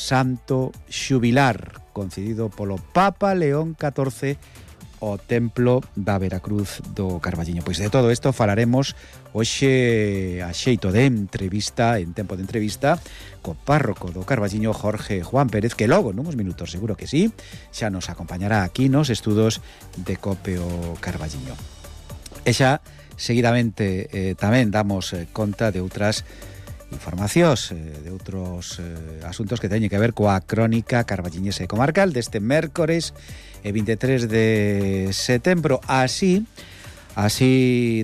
santo xubilar concedido polo Papa León XIV ao Templo da Veracruz do Carballiño. Pois de todo isto falaremos hoxe a xeito de entrevista, en tempo de entrevista, co párroco do Carballiño, Jorge Juan Pérez, que logo, nuns minutos, seguro que sí, xa nos acompañará aquí nos estudos de COPE o Carballiño. E xa, seguidamente, tamén damos conta de outras informacións, de outros asuntos que teñen que ver coa crónica carballiñesa e comarcal deste mércores 23 de setembro. Así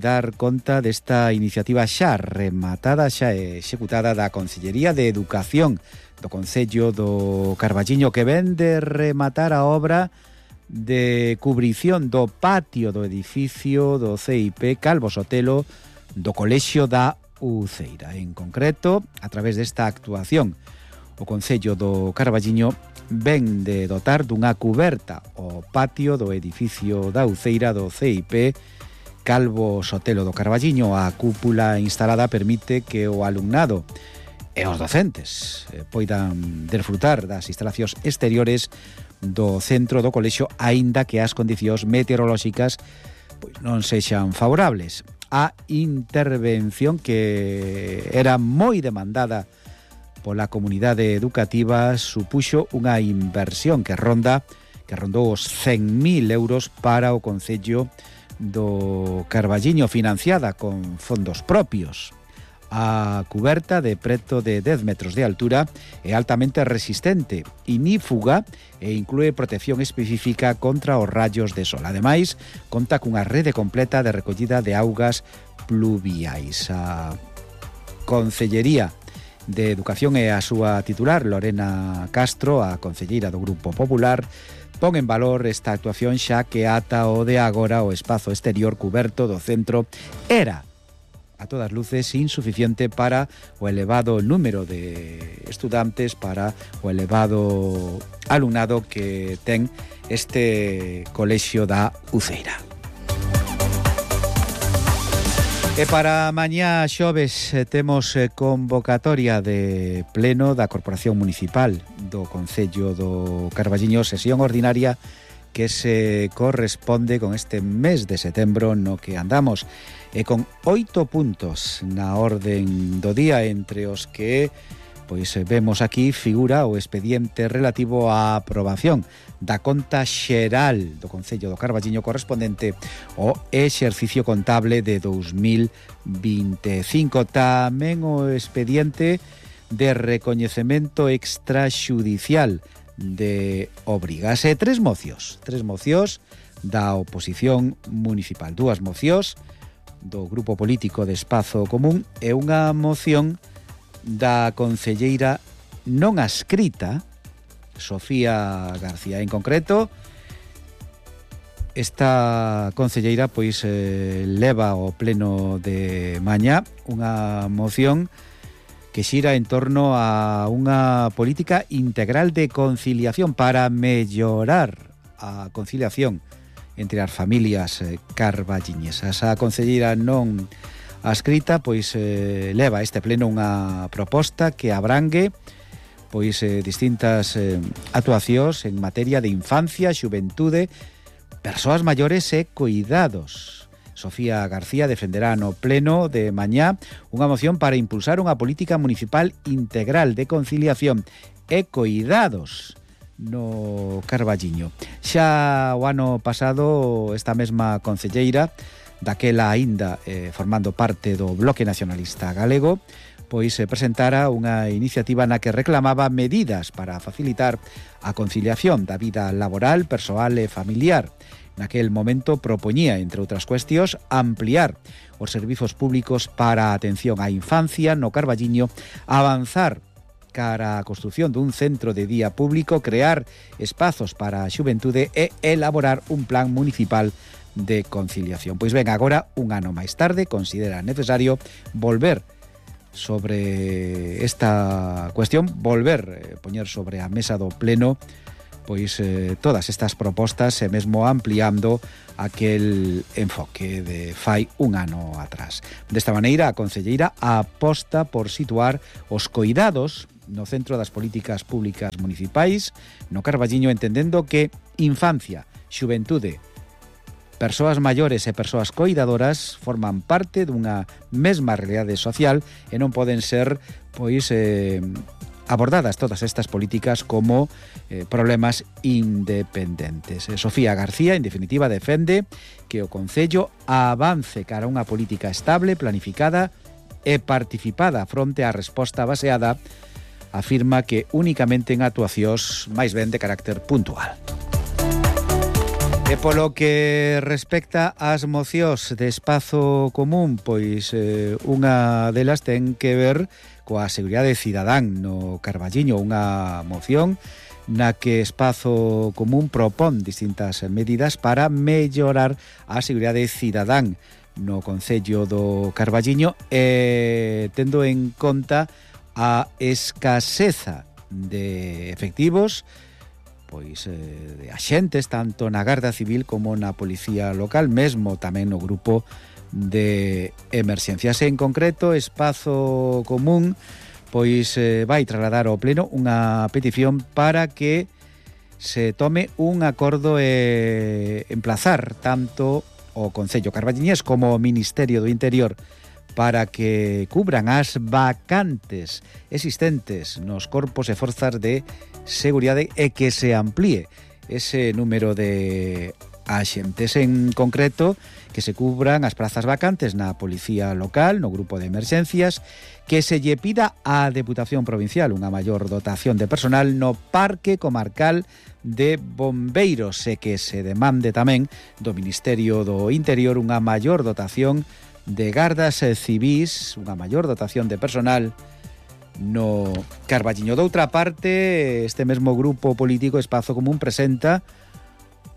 dar conta desta iniciativa xa rematada, xa executada da Consellería de Educación do Concello do Carballiño, que ven de rematar a obra de cubrición do patio do edificio do CIP Calvo Sotelo do Colexio da Uceira. En concreto, a través desta actuación, o Concello do Carballiño ven de dotar dunha cuberta o patio do edificio da Uceira do CIP Calvo Sotelo do Carballiño. A cúpula instalada permite que o alumnado e os docentes poidan desfrutar das instalacións exteriores do centro do colexio, aínda que as condicións meteorolóxicas pois non sexan favorables. A intervención, que era moi demandada pola comunidade educativa, supuxo unha inversión que rondou os 100.000 euros para o Concello do Carballiño, financiada con fondos propios. A cuberta, de preto de 10 metros de altura, é altamente resistente, inífuga e inclúe protección específica contra os rayos de sol. Ademais, conta cunha rede completa de recollida de augas pluviais. A Consellería de Educación e a súa titular, Lorena Castro, a concelleira do Grupo Popular, pon en valor esta actuación, xa que ata o de agora o espazo exterior cuberto do centro era a todas luces insuficiente para o elevado número de estudantes, para o elevado alumnado que ten este colexio da Uceira. E para mañá xoves temos convocatoria de pleno da Corporación Municipal do Concello do Carballiño, sesión ordinaria que se corresponde con este mes de setembro no que andamos, e con 8 puntos na orden do día, entre os que pois vemos aquí figura o expediente relativo á aprobación da conta xeral do Concello do Carballiño correspondente ao exercicio contable de 2025. Tamén o expediente de recoñecemento extraxudicial de obrigas e tres mocións da oposición municipal, 2 mocións do Grupo Político de Espazo Común e unha moción da concelleira non adscrita, Sofía García. En concreto, esta concelleira pois leva ao pleno de mañá unha moción que xira en torno a unha política integral de conciliación para mellorar a conciliación entre as familias carballiñesas. A concelleira non adscrita pois leva a este pleno unha proposta que abrangue pois distintas actuacións en materia de infancia, xuventude, persoas maiores e cuidados. Sofía García defenderá no pleno de mañá unha moción para impulsar unha política municipal integral de conciliación e cuidados no Carballiño. Xa o ano pasado, esta mesma concelleira, daquela aínda formando parte do Bloque Nacionalista Galego, pois presentara unha iniciativa na que reclamaba medidas para facilitar a conciliación da vida laboral, persoal e familiar. Naquel momento propoñía, entre outras cuestións, ampliar os servizos públicos para a atención á infancia no Carballiño, avanzar cara a construción dun centro de día público, crear espazos para a xuventude e elaborar un plan municipal de conciliación. Pois ben, agora, un ano máis tarde, considera necesario volver sobre esta cuestión, poñer sobre a mesa do pleno pois todas estas propostas e mesmo ampliando aquel enfoque de fai un ano atrás. Desta maneira, a concelleira aposta por situar os coidados no centro das políticas públicas municipais no Carballiño, entendendo que infancia, xuventude, persoas maiores e persoas coidadoras forman parte dunha mesma realidade social e non poden ser abordadas todas estas políticas como problemas independentes. Sofía García, en definitiva, defende que o Concello avance cara a unha política estable, planificada e participada fronte á resposta baseada, afirma que únicamente en actuacións máis ben de carácter puntual. E polo que respecta ás mocións de espazo común, pois unha delas ten que ver coa seguridade cidadán no Carballiño, unha moción na que Espazo Común propón distintas medidas para mellorar a seguridade cidadán no Concello do Carballiño, tendo en conta a escaseza de efectivos, pois de axentes tanto na Garda Civil como na Policía Local, mesmo tamén no grupo de emerxencias. En concreto, Espazo Común pois vai trasladar ao Pleno unha petición para que se tome un acordo e emplazar tanto o Concello carballiñés como o Ministerio do Interior para que cubran as vacantes existentes nos corpos e forzas de seguridade e que se amplíe ese número de axentes. En concreto, que se cubran as prazas vacantes na Policía Local, no grupo de emerxencias, que se lle pida á Deputación Provincial unha maior dotación de personal no Parque Comarcal de Bombeiros e que se demande tamén do Ministerio do Interior unha maior dotación de gardas civís, unha maior dotación de personal no Carballiño. Doutra parte, este mesmo grupo político Espazo Común presenta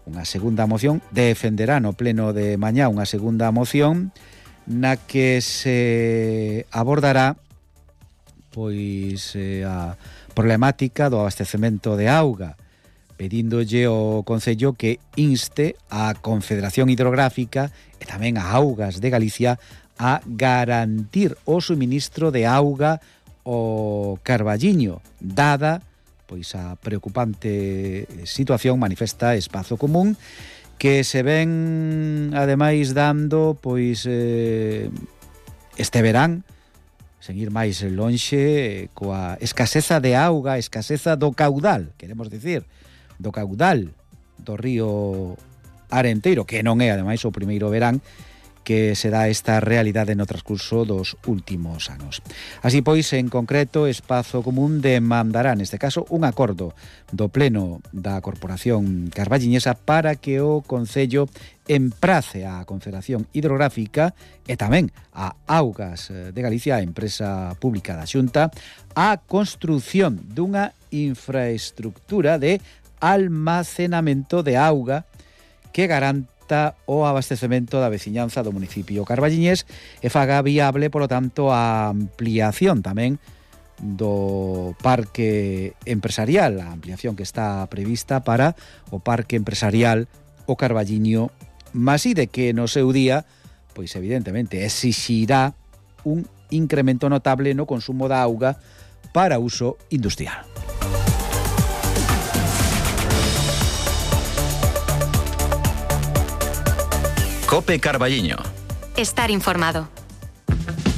unha segunda moción, defenderá no pleno de mañá unha segunda moción na que se abordará pois a problemática do abastecemento de auga, pedíndolle ao Concello que inste a Confederación Hidrográfica e tamén a Augas de Galicia a garantir o suministro de auga ao Carballiño, dada pois a preocupante situación, manifesta Espazo Común, que se ven ademais dando pois este verán, sen ir máis lonxe, coa escaseza de auga, escaseza do caudal, queremos dicir, do caudal do río Arenteiro, que non é ademais o primeiro verán que se dá esta realidade no transcurso dos últimos anos. Así pois, en concreto, Espazo Común demandará, neste caso, un acordo do Pleno da Corporación Carballiñesa para que o Concello emprace a Confederación Hidrográfica e tamén a Augas de Galicia, a empresa pública da Xunta, a construción dunha infraestructura de almacenamento de auga que garante o abastecemento da veciñanza do municipio carballiñés e faga viable, polo tanto, a ampliación tamén do parque empresarial, a ampliación que está prevista para o parque empresarial o Carballiño Maside, que no seu día, pois evidentemente, exixirá un incremento notable no consumo da auga para uso industrial. Cope Carballiño. Estar informado.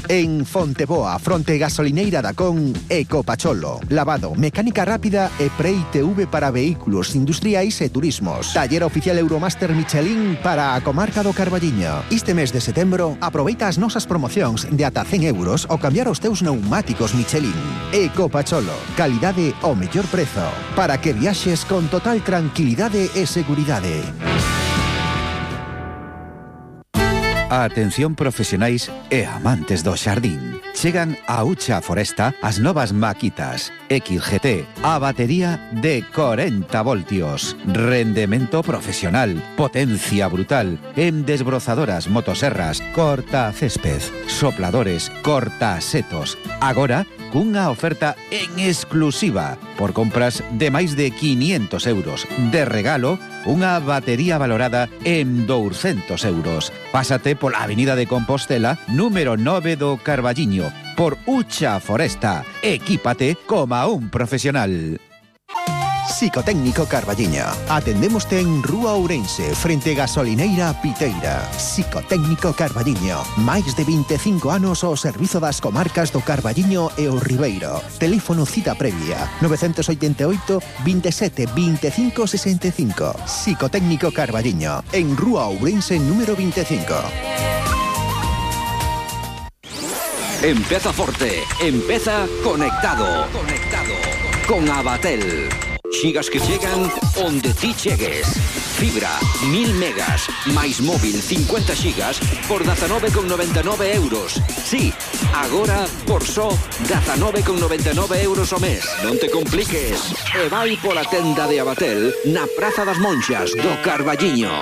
En Fonteboa, fronte gasolineira da Con, Ecopacholo. Lavado, mecánica rápida e pre-ITV para vehículos industriais e turismos. Taller oficial Euromaster Michelin para a comarca do Carballiño. Este mes de setembro, aproveita as nosas promocións de ata 100 euros ao cambiar os teus neumáticos Michelin. Ecopacholo, calidade ao mellor prezo, para que viaxes con total tranquilidade e seguridade. Atención profesionais e amantes do xardín. Chegan a Ucha Foresta as novas maquitas XGT, a batería de 40 voltios, rendemento profesional, potencia brutal, en desbrozadoras, motoserras, corta césped, sopladores, corta setos. Agora, cunha oferta en exclusiva, por compras de máis de 500 euros. De regalo, unha batería valorada en 200 euros. Pásate pola Avenida de Compostela, número 9 do Carballiño, por Ucha Foresta. Equípate como un profesional. Psicotécnico Carballiño. Atendémoste en Rúa Ourense, frente Gasolineira Piteira. Psicotécnico Carballiño. Máis de 25 anos ao servizo das comarcas do Carballiño e o Ribeiro. Teléfono cita previa 988 27 25 65. Psicotécnico Carballiño. En Rúa Ourense número 25. Empeza forte, empeza conectado. Con Abatel. Xigas que chegan onde ti chegues. Fibra, 1000 megas, máis móvil 50 xigas por 19,99 euros. Sí, agora por só 19,99 euros ao mes. Non te compliques. E vai pola tenda de Abatel na Praza das Monxas do Carballiño.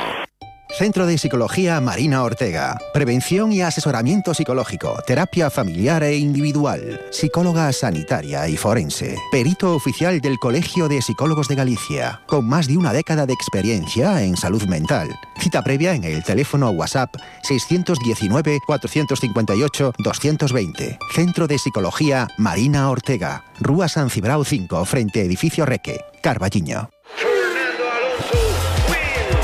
Centro de Psicología Marina Ortega. Prevención y asesoramiento psicológico, terapia familiar e individual, psicóloga sanitaria y forense, perito oficial del Colegio de Psicólogos de Galicia, con más de una década de experiencia en salud mental. Cita previa en el teléfono WhatsApp 619-458-220. Centro de Psicología Marina Ortega. Rúa San Cibrao 5, frente Edificio Reque, Carballiño.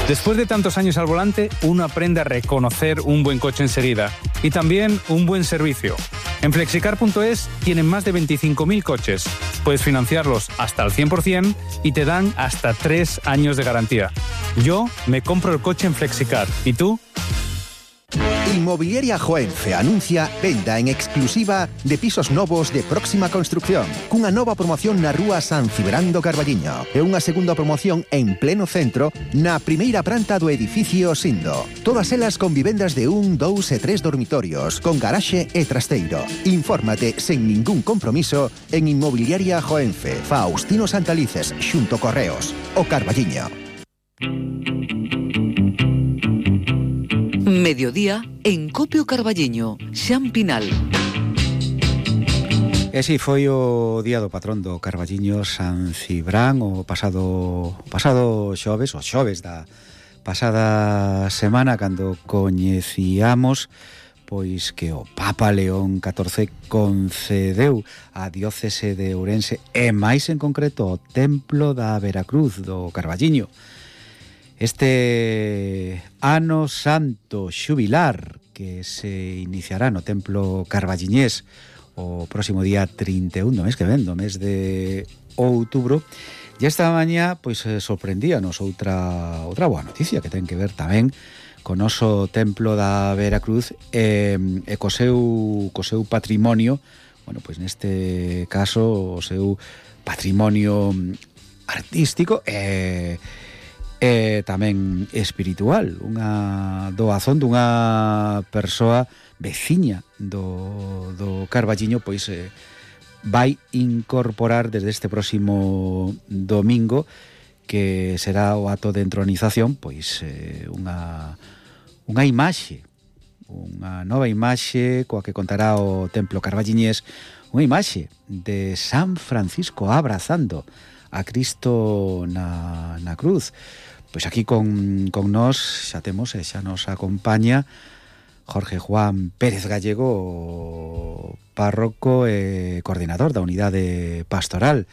Después de tantos años al volante, uno aprende a reconocer un buen coche enseguida y también un buen servicio. En Flexicar.es tienen más de 25.000 coches. Puedes financiarlos hasta al 100% y te dan hasta 3 años de garantía. Yo me compro el coche en Flexicar. ¿Y tú? Inmobiliaria Joenfe anuncia venda en exclusiva de pisos novos de próxima construcción, cunha nova promoción na Rúa San Cibrán do Carballiño e unha segunda promoción en pleno centro na primeira planta do edificio Sindo. Todas elas con vivendas de 1, 2 e 3 dormitorios, con garaxe e trasteiro. Infórmate sen ningún compromiso en Inmobiliaria Joenfe, Faustino Santalices, xunto Correos, o Carballiño. Mediodía en Copio Carballiño, Xan Pinal. E si foi o día do patrón do Carballiño, San Cibrán, o pasado xoves, o xoves da pasada semana, cando coñecíamos pois que o Papa León XIV concedeu a diócese de Ourense e máis en concreto o Templo da Veracruz do Carballiño este ano santo xubilar que se iniciará no Templo Carballiñés o próximo día 31 do mes que ven, do mes de outubro. E esta mañá pois sorprendíanos outra boa noticia que ten que ver tamén co noso Templo da Veracruz e co seu patrimonio, bueno, pois neste caso o seu patrimonio artístico e tamén espiritual, unha doazón dunha persoa veciña do Carballiño, pois vai incorporar desde este próximo domingo, que será o acto de entronización, pois unha imaxe, unha nova imaxe coa que contará o Templo Carballiñés, unha imaxe de San Francisco abrazando a Cristo na cruz. Pois aquí con nós xa temos e xa nos acompaña Jorge Juan Pérez Gallego, párroco e coordinador da unidade pastoral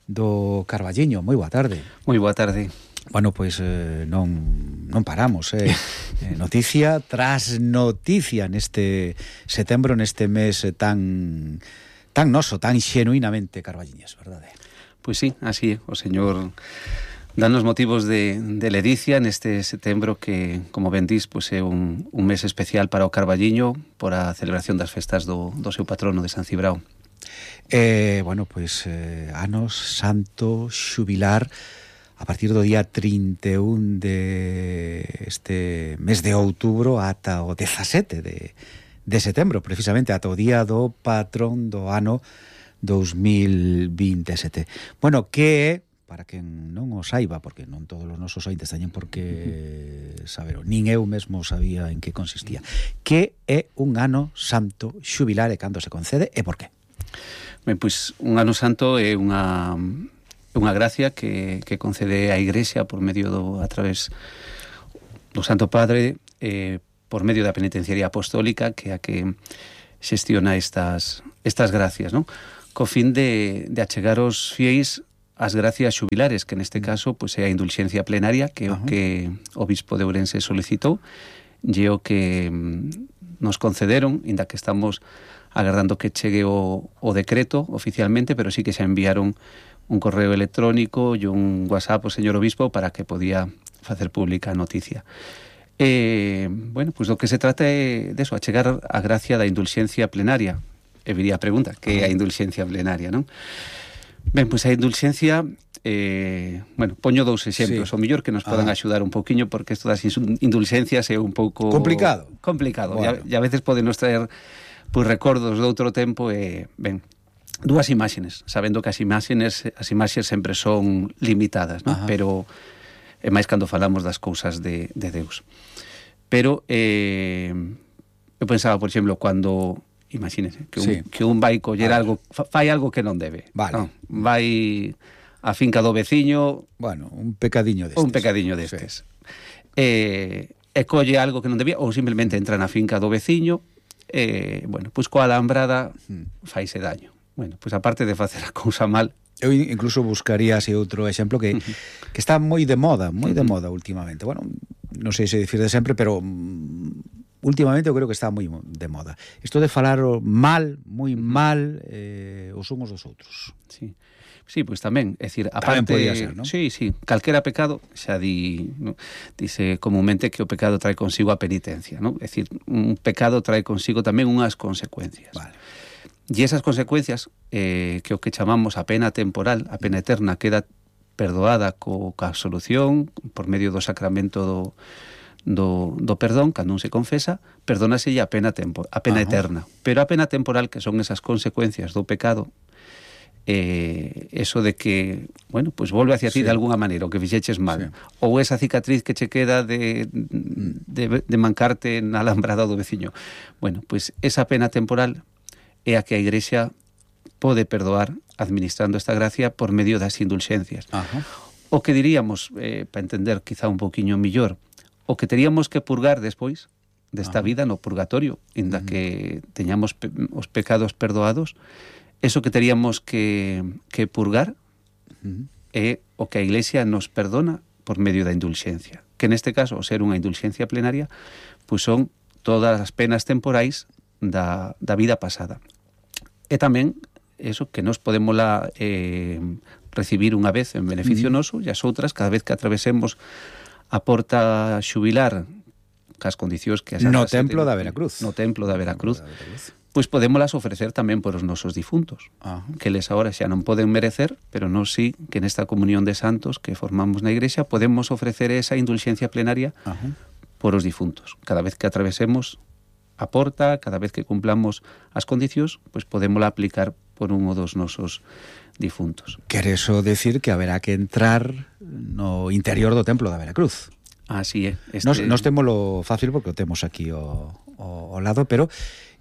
do Carballiño. Moi boa tarde. Moi boa tarde. Bueno, pois non paramos, noticia tras noticia neste setembro, neste mes tan noso, tan xenuinamente carballiñés, verdade? Pois sí, así é. O Señor danos motivos de ledicia neste setembro que, como ben dís, pois é un mes especial para o Carballiño por a celebración das festas do seu patrono de San Cibrao. Bueno, pois anos santo xubilar a partir do día 31 de este mes de outubro ata o 17 de setembro, precisamente ata o día do patrón do ano 2027. Bueno, que é, para quen non o saiba, porque non todos os nosos ointes teñen por que saber, nin eu mesmo sabía en que consistía, que é un ano santo xubilar e cando se concede e por qué? Ben, pois un ano santo é unha gracia que concede a Igrexa por medio a través do Santo Padre, por medio da penitenciaría apostólica, que é a que xestiona estas estas gracias, non? Co fin de achegar os fieis as gracias xubilares, que neste caso pois, é a indulxencia plenaria, que é o que o Bispo de Ourense solicitou, e o que nos concederon, inda que estamos agardando que chegue o decreto oficialmente, pero sí que xa enviaron un correo electrónico e un WhatsApp ao señor obispo para que podía facer pública a noticia. Bueno, pois do que se trata é de eso, a chegar a gracia da indulxencia plenaria. E viría a pregunta, que é a indulxencia plenaria, non? Ben, pois a indulxencia, bueno, poño dous exemplos, o mellor que nos podan axudar un pouquiño, porque isto das indulxencias é un pouco... Complicado. Bueno. E a veces podenos traer pois recordos de outro tempo e, ben, dúas imaxes, sabendo que as imaxes sempre son limitadas, non? Pero é máis cando falamos das cousas de Deus. Pero eu pensaba, por exemplo, cando imagínese que un vai coller algo, fai algo que non debe. Vale. Non, vai a finca do veciño, bueno, un pecadiño destes. E colle algo que non debía, ou simplemente entra na finca do veciño, bueno, pois coa alambrada faise daño. Bueno, pois aparte de facer a cousa mal, eu incluso buscaría así outro exemplo que está moi de moda últimamente. Bueno, non sei se dicir de sempre, pero últimamente eu creo que está moi de moda. Isto de falar mal, moi mal, os uns dos outros. Sí, pois tamén, é dicir, aparte, podía ser, non? Sí, calquera pecado, xa dice comúnmente que o pecado trae consigo a penitencia, non? É dicir, un pecado trae consigo tamén unhas consecuencias. Vale. E esas consecuencias, que o que chamamos a pena temporal, a pena eterna, queda perdoada coa absolución por medio do sacramento do perdón, cando un se confesa, perdónase a pena eterna. Pero a pena temporal, que son esas consecuencias do pecado, eso de que, bueno, pues volve hacia ti de alguna maneira, o que fixeches mal, ou esa cicatriz que che queda de mancarte na alambrada do veciño. Bueno, pues esa pena temporal é a que a Igrexa pode perdoar administrando esta gracia por medio das indulxencias. O que diríamos, para entender quizá un poquinho millor, o que teríamos que purgar despois desta vida no purgatorio, inda que teñamos os pecados perdoados, eso que teríamos que purgar é o que a Iglesia nos perdona por medio da indulxencia, que neste caso, ao ser unha indulxencia plenaria, pois son todas as penas temporais da vida pasada. E tamén eso que nos podemos recibir unha vez en beneficio noso, e as outras, cada vez que atravesemos a porta xubilar cas condicións que as no Templo da Veracruz. Pois podémolas ofrecer tamén por os nosos difuntos, que eles agora xa non poden merecer, pero nós sí que nesta comunión de santos que formamos na Igrexa podemos ofrecer esa indulxencia plenaria por os difuntos. Cada vez que atravesemos a porta, cada vez que cumplamos as condicións, pois podémola aplicar por un dos nosos difuntos. Quere eso decir que haberá que entrar no interior do Templo da Veracruz. Así é. Nos témolo fácil porque o temos aquí ao lado, pero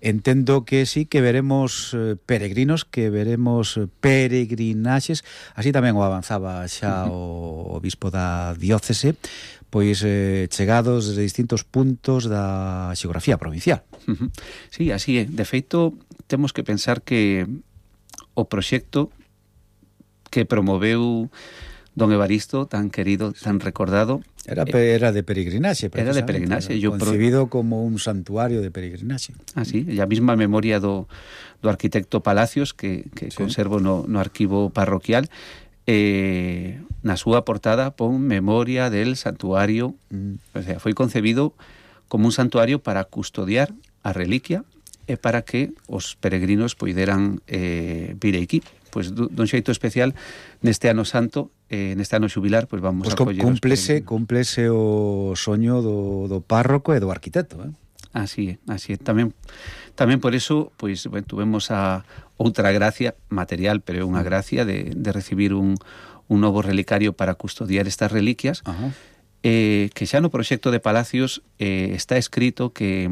entendo que sí que veremos peregrinos, que veremos peregrinaxes, así tamén o avanzaba xa o bispo da diócese, pois chegados desde distintos puntos da xeografía provincial. Sí, así é. De feito, temos que pensar que o proxecto que promoveu don Evaristo, tan querido, tan recordado, era de peregrinaxe, era de peregrinaxe, concebido como un santuario de peregrinaxe. Sí, e a mesma memoria do arquitecto Palacios que conservo no arquivo parroquial, na súa portada pon memoria del santuario, o sea, foi concebido como un santuario para custodiar a reliquia e para que os peregrinos poideran vir aquí. Pois dun xeito especial neste ano santo, neste ano xubilar, pois vamos a coller cúmplese o soño do párroco e do arquitecto, Así é. Tamén por eso, pois, bueno, tuvemos a outra gracia material, pero é unha gracia de recibir un novo relicario para custodiar estas reliquias, que xa no proxecto de Palacios está escrito que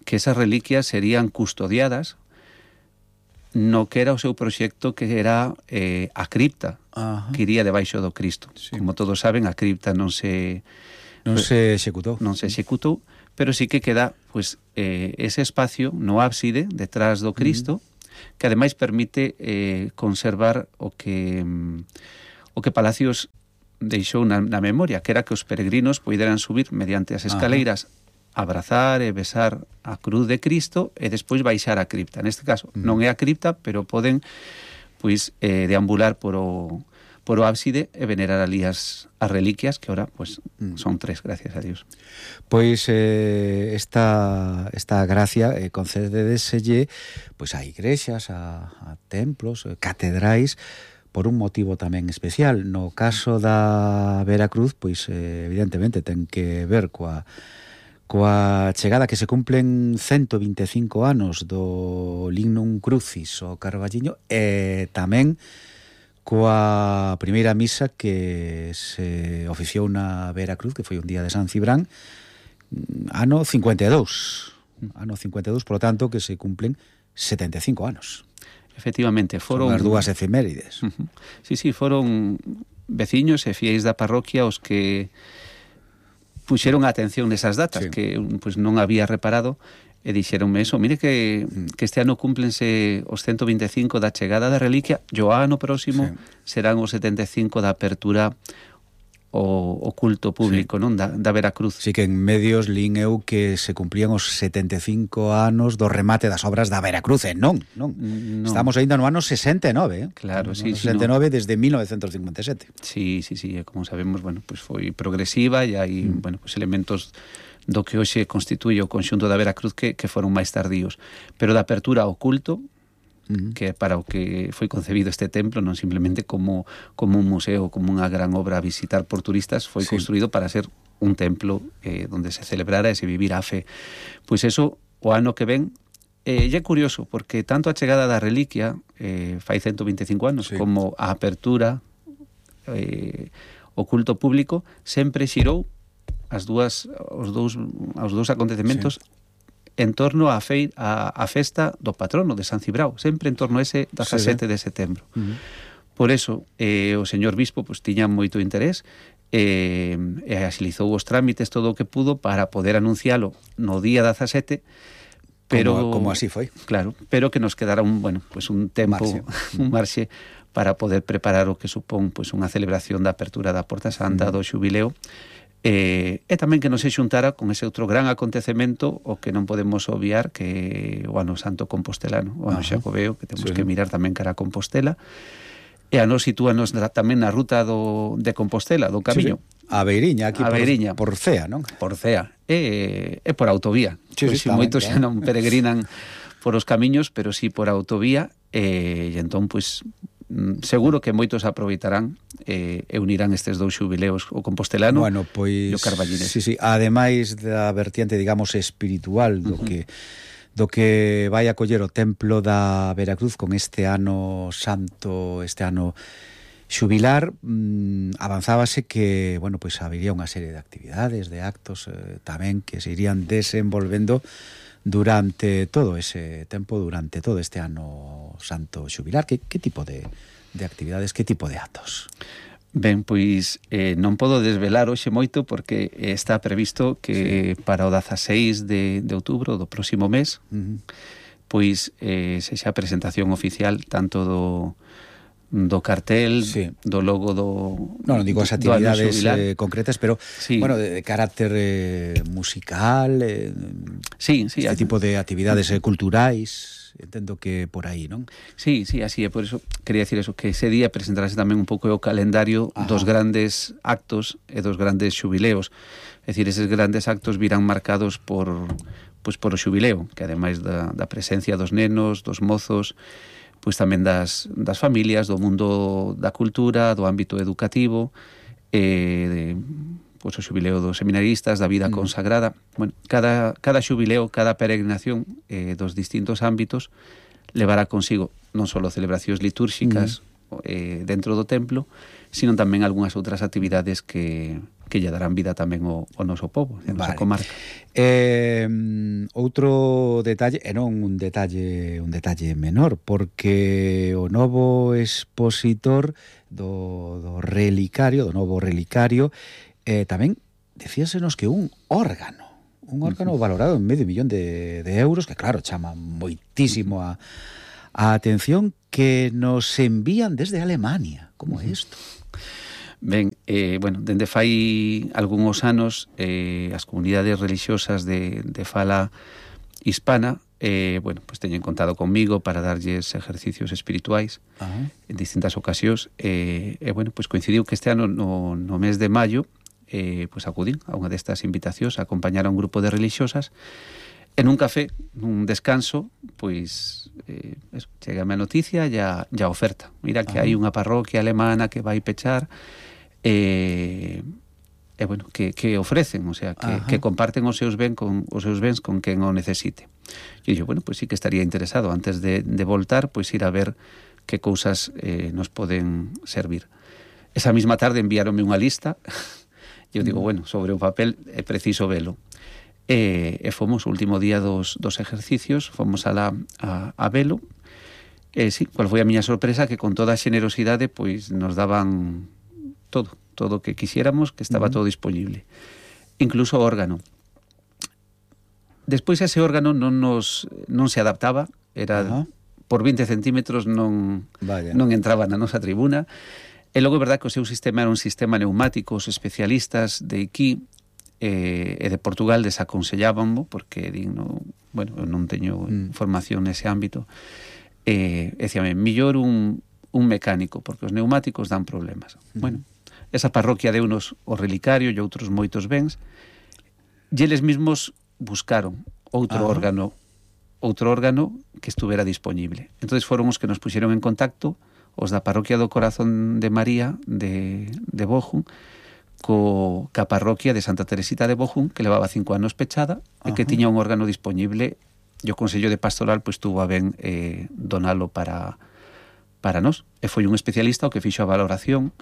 esas reliquias serían custodiadas no que era o seu proxecto, que era a cripta, que iría debaixo do Cristo. Como todos saben, a cripta non se executou, pero sí que queda pues, ese espacio no ábside detrás do Cristo, que ademais permite conservar o que Palacios deixou na memoria, que era que os peregrinos poideran subir mediante as escaleiras, abrazar e besar a cruz de Cristo e despois baixar a cripta. Neste caso non é a cripta, pero poden pois deambular por o ábside e venerar ali as reliquias, que ahora pues, son 3, gracias a Dios. Pois esta gracia concededeselle pois a igrexas, a templos, catedrais, por un motivo tamén especial. No caso da Veracruz, pois evidentemente ten que ver coa chegada que se cumplen 125 anos do Lignum Crucis o Carballiño e tamén coa primeira misa que se oficiou na Veracruz, que foi un día de San Cibrán, ano 52. Ano 52, por lo tanto, que se cumplen 75 anos. Efectivamente, foron... Son as dúas efemérides. Sí, foron veciños e fiéis da parroquia os que puxeron a atención nesas datas, que pues, non había reparado, e dixeronme eso, mire que este ano cúmplense os 125 da chegada da reliquia, e o ano próximo serán os 75 da apertura o culto público, non? Da Veracruz. Sí, que en medios lín eu que se cumplían os 75 anos do remate das obras da Veracruz, non. Estamos ainda no ano 69, Claro, sí. 69 desde 1957. Sí, como sabemos, bueno, pues foi progresiva e hai, bueno, pues elementos do que hoxe constituye o conxunto da Veracruz que foron máis tardíos. Pero da apertura ao culto, que para o que foi concebido este templo, non simplemente como un museo, como unha gran obra a visitar por turistas, foi construído para ser un templo donde se celebrara e se vivira a fe. Pois eso, o ano que ven, e é curioso, porque tanto a chegada da reliquia, fai 125 anos, como a apertura, o culto público, sempre xirou os dous acontecementos en torno á festa do patrono de San Cibrao, sempre en torno a ese 17 de setembro. Por eso, o señor bispo pues, tiña moito interés e axilizou os trámites todo o que pudo para poder anuncialo no día 17, pero como así foi. Claro, pero que nos quedara un tempo, un marxe para poder preparar o que supón pues, unha celebración da apertura da Porta Santa, do xubileo, e tamén que nos se xuntara con ese outro gran acontecemento o que non podemos obviar, que o ano santo compostelano, o ano xacobeo, que temos que mirar tamén cara a Compostela, e a nos sitúanos tamén na ruta de Compostela, do camiño. A Beiriña, aquí por Cea, non? Por Cea, e por autovía. Moitos xa non peregrinan por os camiños, pero sí por autovía, e entón, pois, seguro que moitos aproveitarán e unirán estes dous xubileos, o compostelano e o carballinés. Sí, ademais da vertiente, digamos, espiritual do que vai a coller o templo da Veracruz con este ano santo, este ano xubilar, avanzábase que, bueno, pois habería unha serie de actividades, de actos tamén que se irían desenvolvendo durante todo ese tempo, durante todo este ano santo xubilar. Que tipo de actividades, que tipo de actos? Ben, pois non podo desvelar hoxe moito porque está previsto que para o 16 de outubro do próximo mes pois sexa a presentación oficial tanto do cartel, do logo non digo as actividades concretas, pero bueno, de carácter musical, este tipo de actividades culturais, entendo que por aí, non? Sí, así é, por eso quería decir eso, que ese día presentarase tamén un pouco o calendario dos grandes actos e dos grandes xubileos. É dicir, eses grandes actos virán marcados por o xubileo, que ademais da presencia dos nenos, dos mozos, pois tamén das familias, do mundo da cultura, do ámbito educativo, pois o xubileo dos seminaristas, da vida consagrada. Bueno, cada xubileo, cada peregrinación dos distintos ámbitos levará consigo non só celebracións litúrxicas dentro do templo, sino tamén algunhas outras actividades que lle darán vida tamén ao noso povo, a nosa comarca. Outro detalle, e non un detalle menor, porque o novo expositor do novo relicario, tamén decíasenos que un órgano valorado en $500,000 de euros, que claro, chama moitísimo a a atención que nos envían desde Alemania. Como é isto? Ben, bueno, dende fai algúns anos as comunidades religiosas de fala hispana bueno, pues teñen contado comigo para darlles ejercicios espirituais en distintas ocasións bueno, pues coincidiu que este ano no mes de maio pues acudín a unha destas invitacións a acompañar a un grupo de religiosas en un café, nun descanso, pois eso, chegame a noticia e a oferta. Mira que hai unha parroquia alemana que vai pechar bueno, que ofrecen, o sea, que comparten os seus bens con quen o necesite. E dixo, bueno, pois sí que estaría interesado antes de voltar, pois ir a ver que cousas nos poden servir. Esa mesma tarde enviáronme unha lista e eu digo, bueno, sobre o papel é preciso velo. E fomos o último día dos ejercicios, fomos a velo. Sí, cual foi a miña sorpresa, que con toda a xenerosidade pois nos daban todo o que quixéramos, que estaba todo disponible, incluso o órgano. Despois ese órgano non se adaptaba, era por 20 centímetros, non entraba na nosa tribuna, e logo é verdad que o seu sistema era un sistema neumático. Os especialistas de aquí e de Portugal desaconsellábanmo, porque bueno, non teño formación nese ámbito, decíame, millor un mecánico, porque os neumáticos dan problemas. Bueno, esa parroquia deunos o relicario e outros moitos bens, e eles mesmos buscaron outro órgano que estuvera disponible. Entonces foron os que nos puxeron en contacto, os da parroquia do Corazón de María de Bochum, ca parroquia de Santa Teresita de Bochum, que levaba 5 anos pechada e que tiña un órgano disponible, e o Consello de Pastoral pois tuvo a ben donalo para nós. E foi un especialista o que fixo a valoración.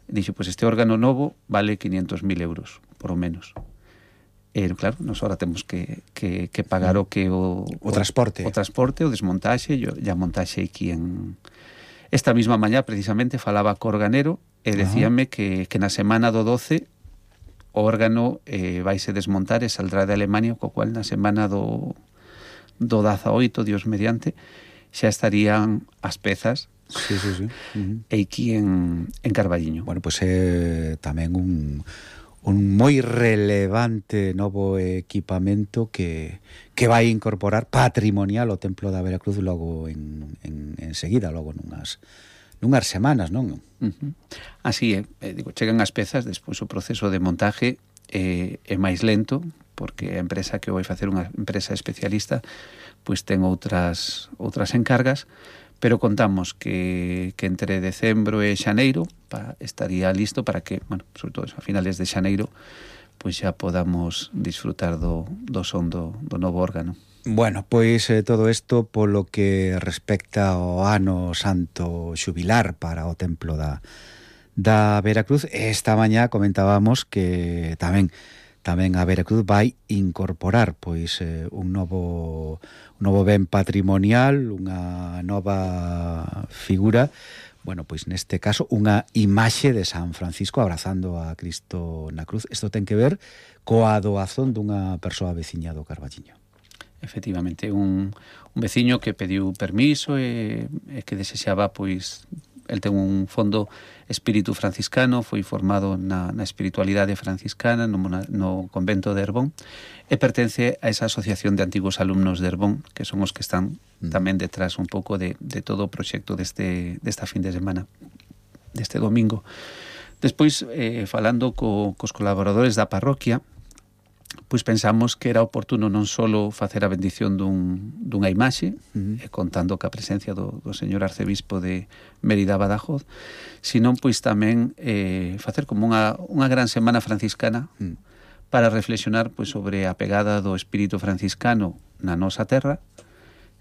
Dixo, pois este órgano novo vale 500.000 euros, por o menos. Claro, nos ahora temos que pagar o transporte, o desmontaxe e a montaxe aquí en... Esta mesma mañá, precisamente, falaba co organero e decíame que na semana do 12 o órgano vaise desmontar e saldrá de Alemania, co cual na semana do 18, Dios mediante, xa estarían as pezas aquí en Carballiño. Bueno, pois é tamén un moi relevante novo equipamento que vai incorporar patrimonial o Templo da Veracruz logo en seguida, logo nunhas semanas, non? Así é, digo, chegan as pezas, despois o proceso de montaje é máis lento, porque a empresa que vai facer unha empresa especialista pois ten outras encargas, pero contamos que entre decembro e xaneiro estaría listo para que, bueno, sobre todo a finales de xaneiro, pois xa podamos disfrutar do son do novo órgano. Bueno, pois todo isto polo que respecta ao ano santo xubilar para o Templo da Veracruz. Esta mañá comentábamos que tamén a Veracruz vai incorporar pois un novo ben patrimonial, unha nova figura, bueno, pois neste caso unha imaxe de San Francisco abrazando a Cristo na cruz. Isto ten que ver coa doazón dunha persoa veciña do Carballiño. Efectivamente, un veciño que pediu permiso e que desexaba, pois, el ten un fondo espírito franciscano, foi formado na espiritualidade franciscana no convento de Herbón e pertence a esa asociación de antigos alumnos de Herbón, que son os que están tamén detrás un pouco de todo o proxecto desta fin de semana, deste domingo. Despois, falando cos colaboradores da parroquia, pois pensamos que era oportuno non só facer a bendición dunha imaxe, contando ca presencia do señor arcebispo de Mérida Badajoz, sino pois tamén facer como unha gran semana franciscana para reflexionar pois sobre a pegada do espírito franciscano na nosa terra.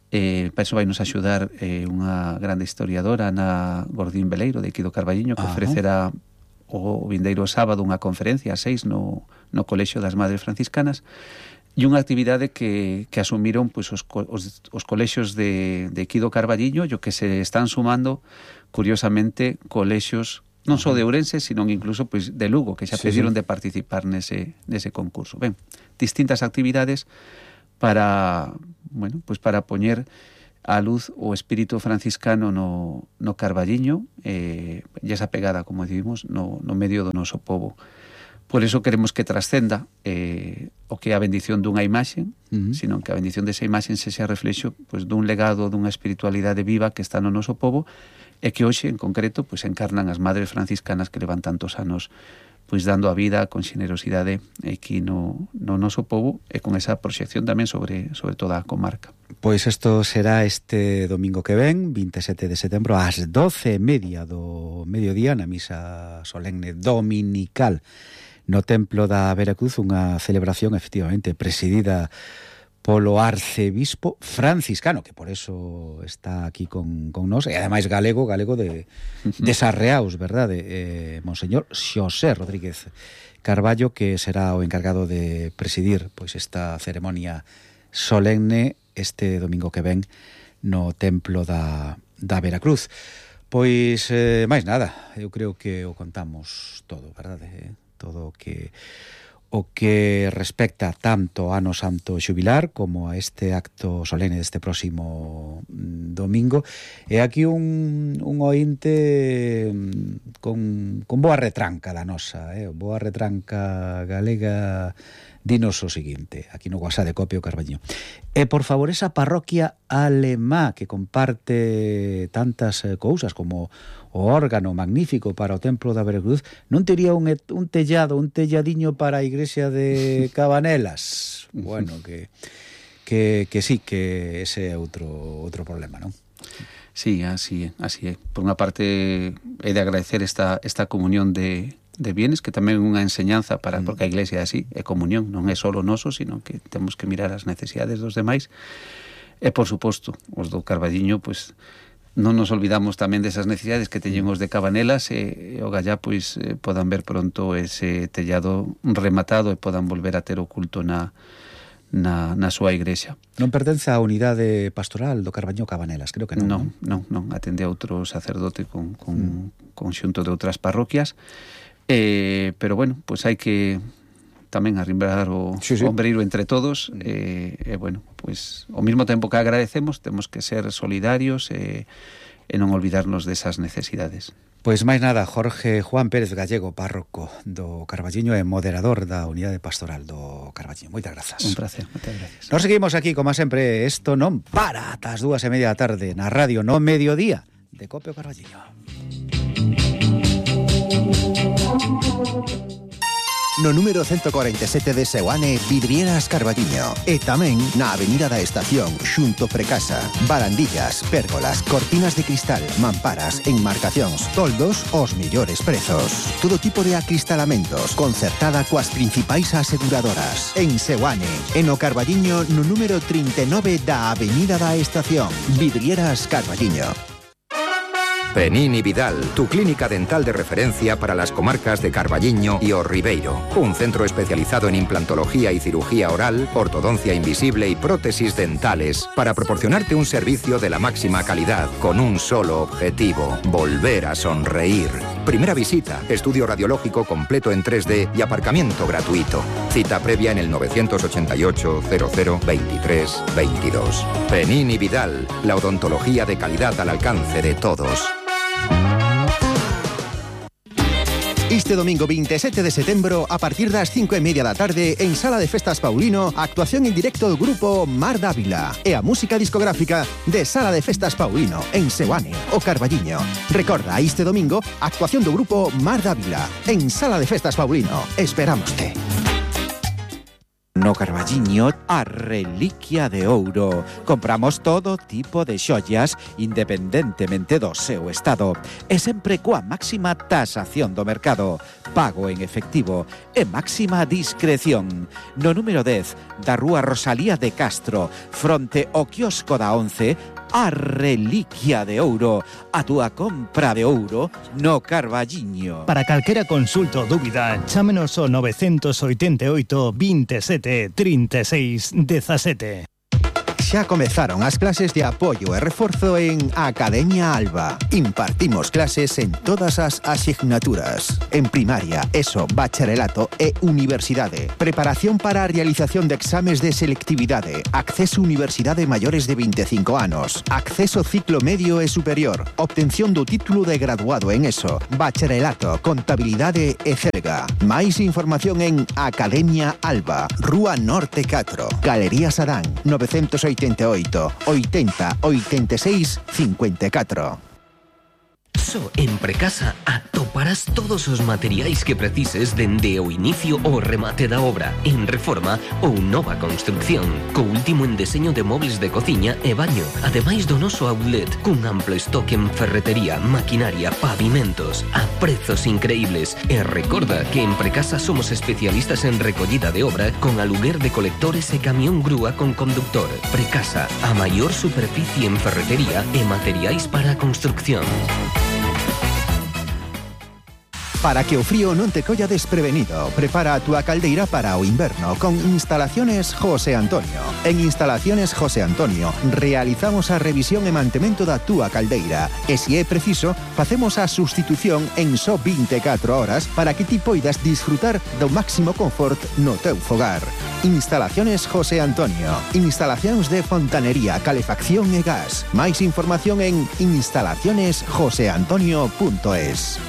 Para iso vai nos axudar unha grande historiadora, Ana Gordín Veleiro, de aquí do Carballiño, que ofrecerá o vindeiro sábado unha conferencia a 6 no Colexio das Madres Franciscanas, e unha actividade que asumiron pois, os colexios de aquí do Carballiño, e o que se están sumando, curiosamente, colexios non só de Ourense, sino incluso pois, de Lugo, que xa pediron de participar nese concurso. Ben, distintas actividades para poñer a luz o espírito franciscano no Carballiño e esa pegada, como decimos, no medio do noso povo. Por eso queremos que trascenda o que é a bendición dunha imaxe, sino que a bendición desa imaxe sexa reflexo pues, dun legado, dunha espiritualidade viva que está no noso povo e que hoxe, en concreto, pues, encarnan as madres franciscanas que levan tantos anos pois dando a vida con xenerosidade aquí no noso povo e con esa proxección tamén sobre toda a comarca. Pois isto será este domingo que ven, 27 de setembro, ás 12:30 do mediodía, na misa solemne dominical no Templo da Veracruz, unha celebración efectivamente presidida polo arcebispo franciscano, que por eso está aquí con nós, e ademais galego de Sarreaus, verdade? Monseñor Xosé Rodríguez Carballo, que será o encargado de presidir pois esta ceremonia solemne este domingo que ven no Templo da Veracruz. Pois, máis nada, eu creo que o contamos todo, verdade? Todo o que respecta tanto ao Ano Santo Xubilar como a este acto solene deste próximo domingo. E aquí un ointe con boa retranca da nosa, boa retranca galega. Dinos o seguinte, aquí no WhatsApp de Copio Carballiño. E por favor, esa parroquia alemá que comparte tantas cousas como o órgano magnífico para o Templo da Veracruz, non tería un telladiño para a igrexa de Cabanelas? Bueno, que sí, que ese é outro problema, non? Sí, así é. Por unha parte, é de agradecer esta comunión de bienes, que tamén é unha enseñanza porque a iglesia é así, é comunión, non é só o noso, sino que temos que mirar as necesidades dos demais. E, por suposto, os do Carballiño, pois, non nos olvidamos tamén desas necesidades que teñen os de Cabanelas e o gallá, pois, podan ver pronto ese tellado rematado e podan volver a ter o culto na súa igrexa. Non pertence á unidade pastoral do Carballiño Cabanelas, creo que non. Non, atende a outro sacerdote con conxunto de outras parroquias. Pero bueno, pues hai que tamén arrimbrar o ombreiro entre todos bueno, pues ao mesmo tempo que agradecemos temos que ser solidarios e non olvidarnos desas necesidades. Pois máis nada, Jorge Juan Pérez Gallego, párroco do Carballiño e moderador da unidade pastoral do Carballiño. Moitas grazas. Un placer, moitas gracias. Nos seguimos aquí, como sempre, isto non para ata as 2:30 da tarde na radio no mediodía de Copio Carballiño. No número 147 de Seoane, Vidrieras Carballiño. E tamén na Avenida da Estación, xunto Precasa. Barandillas, pérgolas, cortinas de cristal, mamparas, enmarcacións, toldos, os mellores prezos. Todo tipo de acristalamentos, concertada coas principais aseguradoras. En Seoane, e no Carballiño, no número 39 da Avenida da Estación. Vidrieras Carballiño. Penini Vidal, tu clínica dental de referencia para las comarcas de Carballiño y O Ribeiro. Un centro especializado en implantología y cirugía oral, ortodoncia invisible y prótesis dentales para proporcionarte un servicio de la máxima calidad con un solo objetivo: volver a sonreír. Primera visita, estudio radiológico completo en 3D y aparcamiento gratuito. Cita previa en el 988 00 23 22. Penini Vidal, la odontología de calidad al alcance de todos. Este domingo 27 de setembro, a partir das 5:30 da tarde, en Sala de Festas Paulino, actuación en directo do grupo Mar Dávila e a música discográfica de Sala de Festas Paulino, en Seoane, o Carballiño. Recorda, este domingo, actuación do grupo Mar Dávila, en Sala de Festas Paulino. Esperámoste. No Carballiño, a reliquia de ouro. Compramos todo tipo de xollas independentemente do seu estado e sempre coa máxima tasación do mercado, pago en efectivo e máxima discreción. No número 10 da Rúa Rosalía de Castro, fronte ao quiosco da 11, a reliquia de ouro, a túa compra de ouro no Carballiño. Para calquera consulta ou dúbida, chámenos ao 988 27 36 17. Xa comezaron as clases de apoio e reforzo en Academia Alba. Impartimos clases en todas as asignaturas. En primaria, ESO, bacharelato e universidade. Preparación para a realización de exames de selectividade. Acceso a universidade maiores de 25 anos. Acceso ciclo medio e superior. Obtención do título de graduado en ESO, bacharelato, contabilidade e celga. Máis información en Academia Alba, Rúa Norte 4, Galería Sadán, 988 80 86 54. Só en Precasa atoparás todos os materiais que precises dende o inicio ao remate da obra, en reforma ou nova construcción, co último en deseño de mobles de cociña e baño, ademais do noso outlet, cun amplo estoque en ferretería, maquinaria, pavimentos, a prezos increíbles. E recorda que en Precasa somos especialistas en recollida de obra con aluguer de colectores e camión grúa con conductor. Precasa, a maior superficie en ferretería e materiais para a construcción. Para que o frío non te colla desprevenido, prepara a túa caldeira para o inverno con Instalaciones José Antonio. En Instalaciones José Antonio realizamos a revisión e mantemento da túa caldeira e, se é preciso, facemos a sustitución en só 24 horas para que ti poidas disfrutar do máximo confort no teu fogar. Instalaciones José Antonio. Instalacións de fontanería, calefacción e gas. Máis información en instalacionesjoseantonio.es.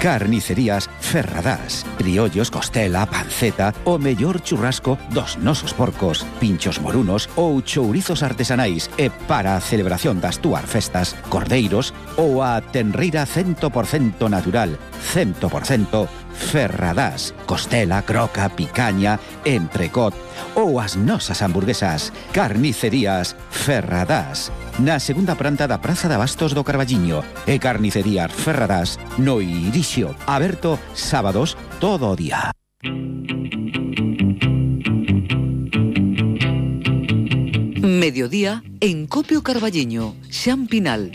Carnicerías Ferradás. Criollos, costela, panceta, o mellor churrasco dos nosos porcos, pinchos morunos ou chourizos artesanais. E para a celebración das túas festas, cordeiros ou a tenreira 100% natural, 100% Ferradás. Costela, croca, picaña, entrecot ou as nosas hamburguesas. Carnicerías Ferradás. Na segunda planta da Praza de Abastos do Carballiño. E Carnicerías Ferradás no Irixio. Aberto sábados todo o día. Mediodía en Copio Carballiño, Xan Pinal.